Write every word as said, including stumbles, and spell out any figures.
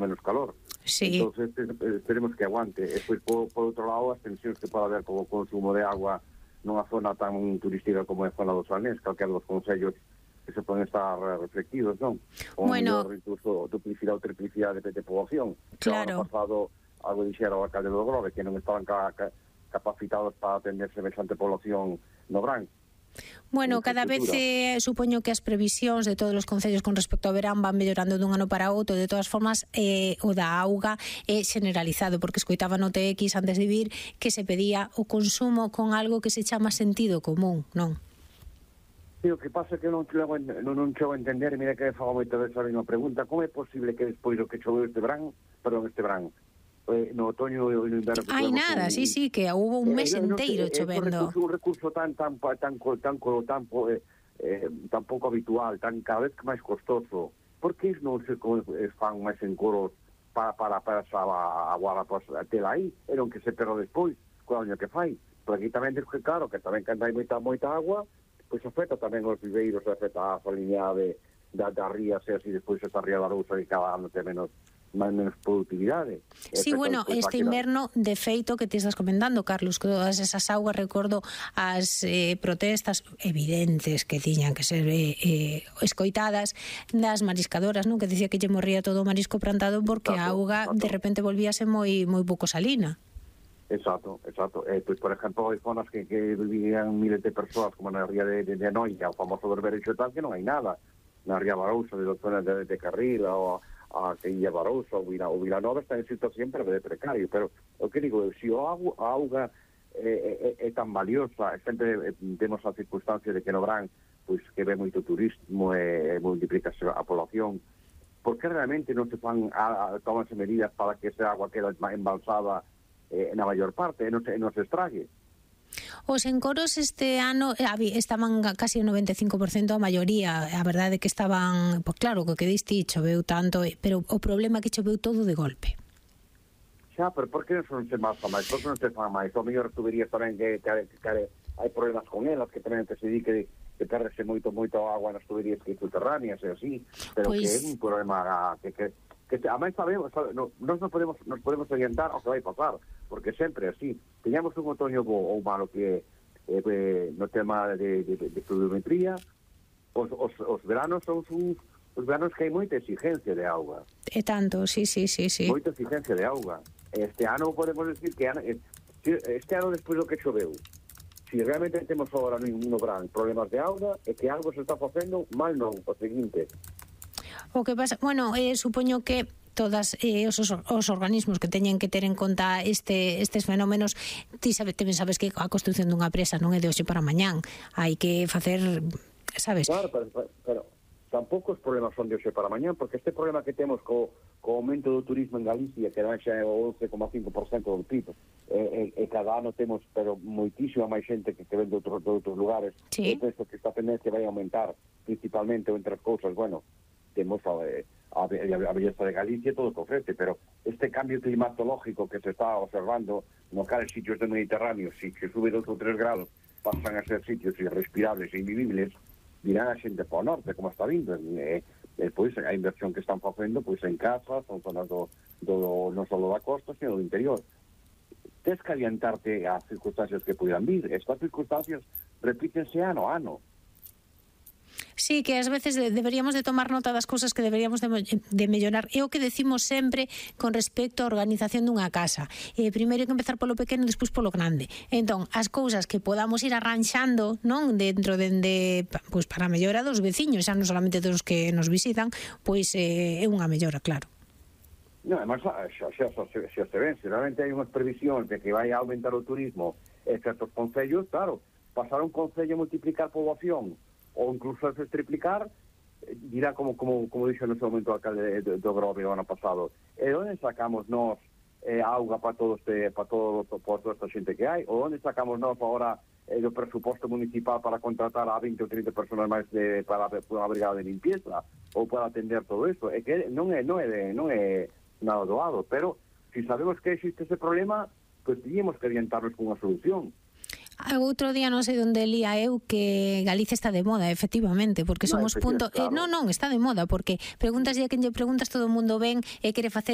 menos calor. Sí. Entonces esperemos que aguante. E pois, por, por outro lado, as tensións que pode haber co consumo de agua nunha zona tan turística como é a zona dos Salnés, calquera dos concellos que se poden estar reflectidos, non? O Bueno, mellor, incluso duplicidade ou triplicidade de población. Claro. O ano pasado, algo dixera o alcalde do Grove, que non estaban ca, ca, capacitados para atender semejante población no Brán. Bueno, cada vez eh, supoño que as previsións de todos os concellos con respecto ao verán van mellorando dun ano para outro. De todas formas, eh, o da auga é generalizado, porque escoitaba no T X antes de vir que se pedía o consumo con algo que se chama sentido común, non? Sí, o que pasa é que non chego, non, non chego a entender, e mira que fago moita vez a mesma pregunta, como é posible que despois do que choveu este verán, perdón, este verán, eh, no otoño e no inverno... Hai nada, un, sí, sí, que houve un mes eh, enteiro no sé, chovendo. É un recurso tan tan tan tan tan, tan, eh, eh, tan pouco habitual, tan cada vez que máis costoso. Por que iso non se fan máis en coros para para para esa agua a tela aí, e non que se perda despois, co año que fai? Porque aquí tamén, que claro, que tamén cando hai moita, moita agua, pois afecta tamén os viveiros, afecta a salinidade da, da rías, e así despois esta ría da Arousa que cada ano ten menos máis menos productividade. Sí, bueno, este inverno, de feito, que te estás comentando, Carlos, que todas esas augas, recordo as eh, protestas evidentes que tiñan que ser eh, eh, escoitadas das mariscadoras, non? Que dicía que lle morría todo o marisco plantado porque a auga de repente volvíase moi moi pouco salina. Exacto, exacto. Eh, pois, por exemplo, hai zonas que, que vivían miles de persoas, como na ría de, de, de Noia, o famoso Berbereixo e tal, que non hai nada. Na ría Barousa, de zonas de, de Carril, ou a que Illa Barousa, ou Vila, Vilanova, está en situación sempre de precario. Pero, o que digo, se a auga é, é, é tan valiosa, sempre temos a circunstancia de que no Brán, pois, que ve moito turismo e, e multiplicación a población, porque realmente non se fan, a, a, tomanse medidas para que esa agua quede embalsada Eh, na maior parte, e non se, non se estrague. Os encoros este ano estaban casi o noventa e cinco por ciento a maioría, a verdade é que estaban, pois claro, co que diste choveu tanto, pero o problema é que choveu todo de golpe. Xa, pero por que non se masa máis? Por que non se fan máis? O mellor tuberías tamén que, que, que, que hai problemas con elas, que tamén que se di que, que perdese moito, moito agua nas tuberías que subterráneas e así, pero pues... que é un problema que... que que a máis sabemos, no, nós non podemos, nos podemos orientar ao que vai pasar, porque sempre así, teñamos un otoño bo ou malo que eh, eh, no tema de, de, de pluviometría, os, os, os veranos son uns, os veranos que hai moita exigencia de auga. E tanto, sí, sí, sí, sí. Moita exigencia de auga. Este ano podemos decir que este ano despois do que choveu, si realmente temos agora no Brán problemas de auga, é que algo se está facendo mal non, o seguinte. O que pasa, bueno, eh, supoño que todas eh, os, os organismos que teñen que ter en conta este, estes fenómenos, ti sabes, te sabes que a construción dunha presa non é de hoxe para mañán, hai que facer, sabes? Claro, pero, pero, pero tampouco os problemas son de hoxe para mañán, porque este problema que temos co, co aumento do turismo en Galicia, que non xa é o once coma cinco por ciento do P I B, e, e, e cada ano temos pero moitísima máis xente que, que ven de outros, de outros lugares, sí. E penso que esta tendencia vai aumentar, principalmente, entre as cousas, bueno, temos a, a, a belleza de Galicia todo o que ofrece, pero este cambio climatológico que se está observando no cales sitios do Mediterráneo, si que sube dos ou tres grados, pasan a ser sitios irrespirables e invivibles, virán a xente para o norte, como está vindo, e, e pois a inversión que están facendo pois en casas, son zonas do, do, non só da costa, sino do interior. Tens que adiantarte as circunstancias que puedan vir. Estas circunstancias repítense ano a ano. Sí, que ás veces deberíamos de tomar nota das cousas que deberíamos de, de mellorar. É o que decimos sempre con respecto á organización dunha casa. Eh, primeiro hai que empezar polo pequeno e despois polo grande. Entón, as cousas que podamos ir arranxando, non, dentro de, de pois para a mellora dos veciños, xa non solamente dos que nos visitan, pois eh, é unha mellora, claro. Non, además, xa, xa, xa, xa, xa se ven, se realmente hai unhas previsións de que vai aumentar o turismo en certos concellos, claro, pasar un concello a multiplicar poboación ou incluso a triplicar, dirá como como como dixo no seu momento o alcalde do, do Grove o ano pasado. E onde sacamos nós eh, auga para todo este para todo para toda esta xente que hai? Ou onde sacamos nós agora eh, do presuposto municipal para contratar a vinte ou trinta personas máis de, para a brigada de limpieza ou para atender todo isto? É que non é non é de, non é nada doado, pero se si sabemos que existe ese problema, pois pues, teníamos que orientarnos con unha solución. Outro día non sei onde lía eu que Galicia está de moda, efectivamente, porque somos no, punto... Claro. Eh, non, non, está de moda, porque preguntas e a quen lle preguntas todo o mundo ven e quere facer